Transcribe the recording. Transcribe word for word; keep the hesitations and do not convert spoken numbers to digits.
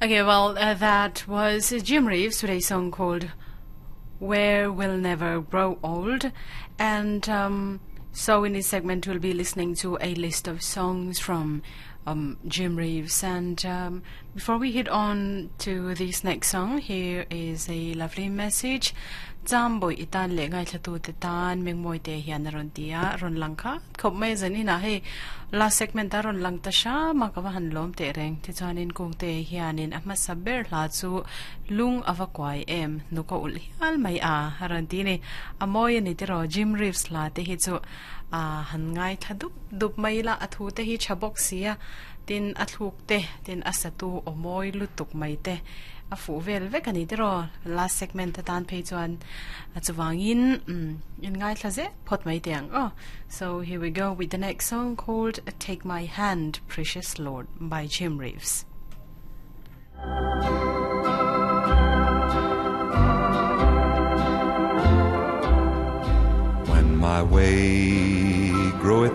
Okay, well, uh, that was Jim Reeves with a song called Where We'll Never Grow Old. And um, so in this segment, we'll be listening to a list of songs from um, Jim Reeves. And um, before we hit on to this next song, here is a lovely message. Jamboi itan le ngai thlatu te tan mengmoi te hian ron tia ron langkha khop mai zan ina hei last segment ta ron lang ta sha ma ka han lom te reng ti chuanin kung te hianin a hmasa ber hla chu lung awa kwai em nu ko ul hial mai a haran ti ni amoi ani te ro Jim Reeves la te hi chu a han ngai thadup dup mai la athu te hi chabok sia tin a thluk te tin asatu omoi lutuk mai te a fu vel vek ani tero last segment ta tan phei chuan a chuwangin in ngai thlaze phot mai tiang oh so here we go with the next song called Take My Hand Precious Lord by Jim Reeves. When my way groweth